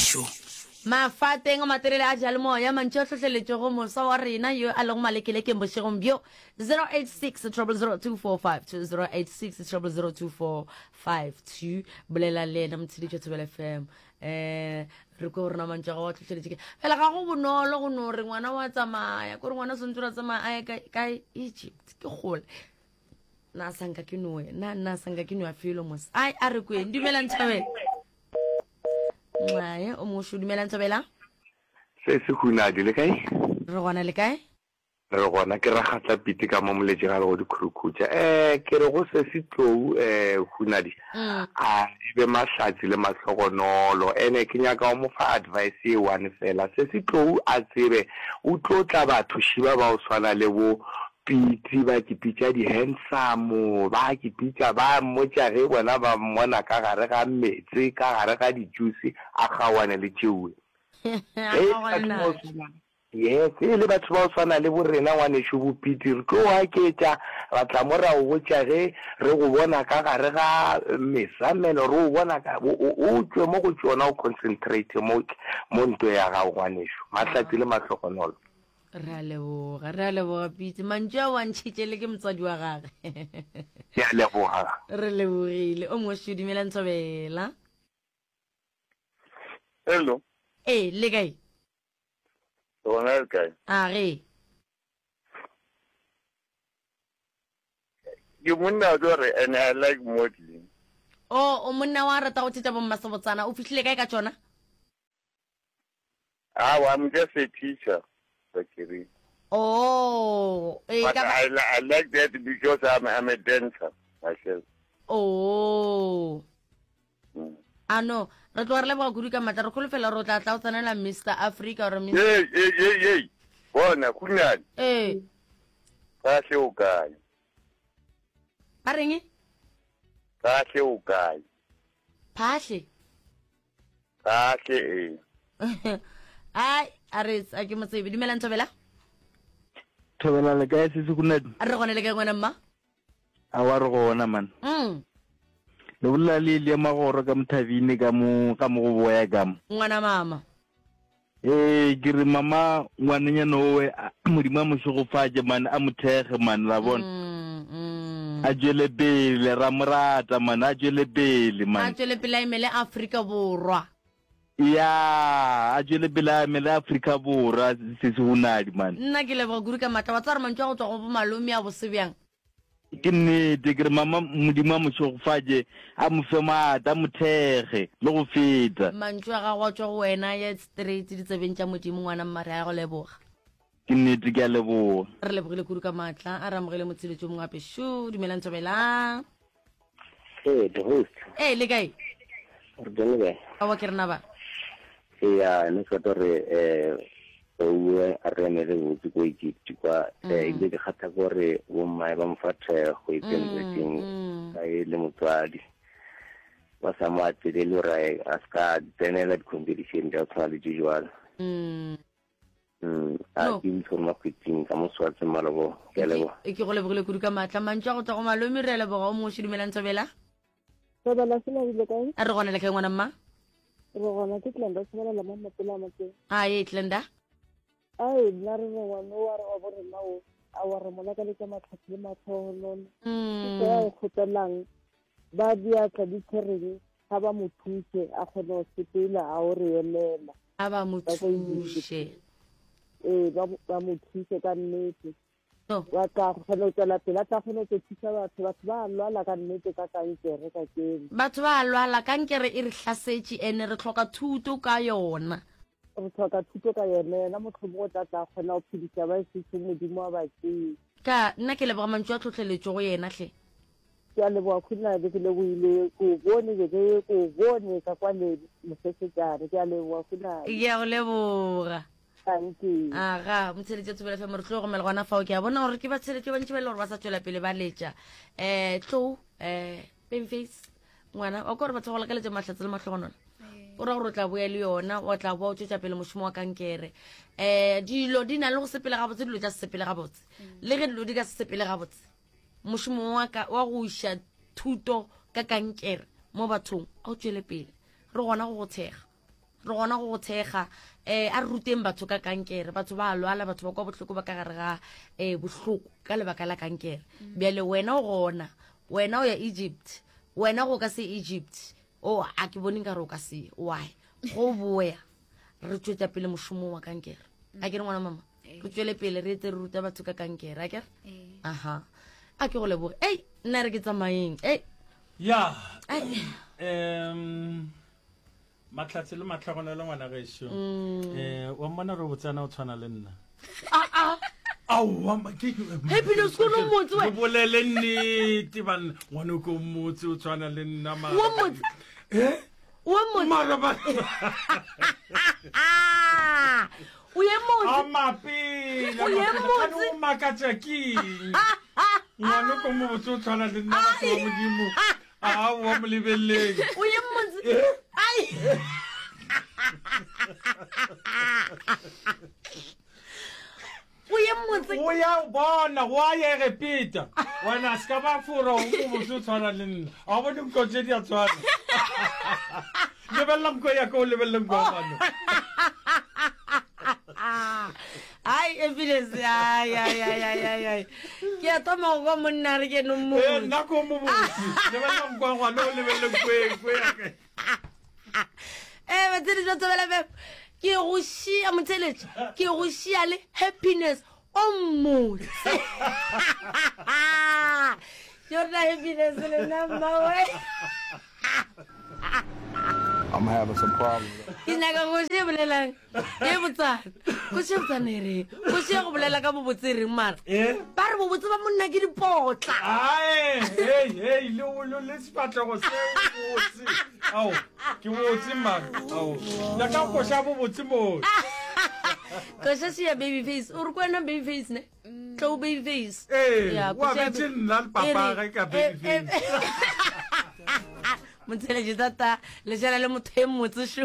gešo. Mafateng a matelele a diyalemoya, mantšu a hlohleletšego moswa wa rena yo a lego malekelekeng bošegong bjo, 086 000 2452, 086 000 2452. Bolela le yena motheletši wa Thobela FM. Eh, re kwe gore na mantšu a gago a hlohleletše ke. Fela ga go bonolo go no re ngwana wa tsamaya, kore ngwana o swantse gore a tsamaya a ye kae, kae Egypt, ke kgole. Na sanka ke noe, na nna sanka ke noa felo mos. Ai a re kweng, dumelang Thobela. Nxae, o mongwe dumelang Thobela. Se se hunadi le kae? Re gona le kae? Re gona ke ragatla pite ka mo moletše ga le go dikhurukhutša. Eh ke re go se se tlou eh hunadi. Mm. A e be mahlatsi le mahlogonolo. Ene ke nyaka go mo fa advice ye one fela. Se se tlou a tsebe o tlo tla batho šiba ba o swana le bo Pitsi ba ke pitša di handsome, ba ke pitša ba mmotša ge bona ba mmona ka gare ga meetse, ka gare ga di juice, a kgaoane le tšeoe. A Ge e le kgaogane batho ba go natšo. swana, yes, ge e le batho ba go swana le bo rena ngwanešu bo Piti, re tlo aketša, ra tla mo ra go botša ge re go bona ka gare ga mesamelo, re go bona ka, o, o, o tšwe mo go tšona o concentrate mo, mo ntwe ya gago ngwanešu. Mahlatse le mahlogonolo. Re a leboga, re a leboga Pitse. Mantšu a o a ntšhitše le ke motswadi wa gage. Ke a leboga. Re lebogile. O mongwe šo, dumela Ntshobela. Hello. Ee, le kae? Gona le kae? A ge. Ke monna wa tlo re and I like modeling. O, o monna wa rata go thetša bommasebotsana. O fihlile kae ka tšona? Awa, I'm just a teacher, Bakiri. Oh, e But ka ba. I, I like that because I'm, I'm a dancer myself. Oh. Mm. A no, re tloga re leboga kudu ka matla. Re kholofela gore o tla tla o tsenela Mr. Africa or Miss. Hey, hey, hey, hey. Bona, Khunane. Ee. Kahle o kae? Ba reng? Kahle o kae? Phahle. Kahle ee. Ai, a re a ke motsebe. Dumelang Thobela. Thobela le kae se se kunadi? A re gone le kae ngwana mma? A wa re gona man. Mm. Le bolela le le magoro ka mothabine ka mo ka mo go boya ka mo. Ngwana mama. Ee, ke re mama ngwanenyana owe Modimo a mo šegofatše man a mo thekge man la bona. Mm, mm. A tšwele pele ra mo rata man a tšwele pele A man. tšwele pele a emele Afrika Borwa. Ya, a tšwele pele a emele Afrika Borwa se se hunadi man. Nna ke leboga kudu ka matla. Wa tseba gore mantšu a go tšwa go bo malome a bose bjang. Ke nnete, ke re mama Modimo a mo šegofatše, a mo fe maatla, a mo thekge le go feta. Mantšu a gago a tšwa go wena a ye straight ditsebeng tša Modimo ngwana mma re a go leboga. Ke nnete, ke a leboga. Re lebogile kudu ka maatla. A re amogele motsheletši o mongwe gape. Šo, dumelang Thobela. Ee, the host. Ee, le kae? Re teng le kae? Aowa ke rena ba. Eya, ne ke rata gore um Ouwe a re emele botse ko Egypt kwa um ebile ke kgatha ke gore bommae ba mo fa thekgo e tsentsetseng ka e le motswadi ba sa mo atelele gore a se ka tsenela di-competition tša go tshwana le tše jwalo. Mm, a No. ke itse gore makgwitsing ka moswatse malobo ke a leboga. E ke go lebogile kudu ka maatla. Mantšu a go tšwa go malome re a leboga o mongwe šo dumelang Thobela. Thobela se le kae? A re gona le kae ngwana mma? Re gona ke Glenda Tshebelela mo Mapela a Motseng. A ye Glenda. Ai nna re re ngwane wa re wa bo rena o a wa re mo lakaletša matlhatsi le matlhogonolo. Ke se a e kgopelang ba diatla di tshwereng ga ba mo thuse a kgone go sepela a o re emela. A ba mo thuše. Ee, ba ba mo thuse ka nnete. No. Wa tla kgona go tswela pele, a tla kgona go thusa batho. Batho ba lwala ka nnete ka kankere ka keno. Batho ba lwala, kankere e re hlasetše ene re hloka thuto ka yona. Re hloka thuto ka yona, yena mohlomongwe o tla tla kgona go phediša ba sešo Modimo a ba tsee. Ka nna ke leboga mantšu a tlhohleletšo go yena hle. Ke a leboga Khunadi, ke lebohile, ke o bone beke ye, ke o bone ka kwa le mosesetšane. Ke a leboga Khunadi. Ke a go leboga. Dankie. Aga, motsheletši wa Thobela FM, re tlo gomela gona fao. Ke a bona gore ke batsheletši ba bantši ba e le gore ba sa tšwela pele ba letša. Um Tlou, um Babyface, ngwana, wa kwa gore batho ba go lakaletša mahlatse le mahlogonolo. O ra gore o tla boya le yona, wa tla boa o tšwetša pele mošomo wa kankere. Um dilo di na le go sepela gabotse, dilo tša se sepele gabotse. Le ge dilo di ka se sepele gabotse, Mošomo wa ka wa go iša thuto ka kankere mo bathong a o tšwele pele. Re gona go go thekga. Re gona go go thekga. Um a re ruteng batho ka kankere. Batho ba a lwala, batho ba kwa bohloko ba ka gare ga um bohloko ka lebaka la kankere. Bjale wena o gona, wena o ya Egypt, wena go ka se Egypt. O a ke bone nkare o ka se why. Go boya re tšwetša pele mošomo wa kankere. A ke re ngwana mama, re tšwele pele re etse re ruta batho ka kankere, a ke re? Aha. A ke go leboge. Ei, nna re ke tsamayeng. Ei. Ya. Um Mahlatse le mahlogonolo ngwana gešo. Mm. Eh, wa mmona re botsana o tshwana le nna. Ah ah. Aowa ma ke Happy no sekolo motse we. Bolele nnete banna. Ngwana ko motse o tshwana le nna mara. Wa motse. Eh? Wa motse. Mara ba. O ye motse. A mapela. O ye motse. O makatša keng? Ngwana ko motse o tshwana le nna batho ba Modimo. Aowa mo lebeleleng. O ye motse. Eh? Ai. O ye motse. O ya o bona go a ya Egepeta. Wena se ka ba fora o mo botse o tshwana le nna. A o bone nko tše di a tshwana. Lebelela nko ya ka o lebelele nko ya ngwana. Ai, evidence. Ai, ai, ai, ai, ai, ai. Ke a thoma go kwa monna re ke no Eh, motse. nna ko mo botse. Lebelela nko ya ngwana o lebelele nko e nko ya ka. Eh, batsedi ba Thobela FM. Ke go šia motheletši. Ke go šia le happiness o mmotse. Yona happiness le nna mmawe. I'm having some problems. Ke nyaka go šia bolelang. E botsana. Go šia botsana e reng. Go šia go bolela ka bobotse e reng mara. Eh? Ba re bobotse ba monna ke dipotla. Ae, hey, hey, le le le sefahlego se botse. Ao, ke botse man. Ao. Nyaka go koša bobotse mo. Koša šia baby face. O re ko wena baby face ne? Tlou baby face. Ee, Ya, o koša ya abetše ba- nna le papa E re- ge ka baby e- e- face. Motheletši tata, lešala le motho e mmotse šo.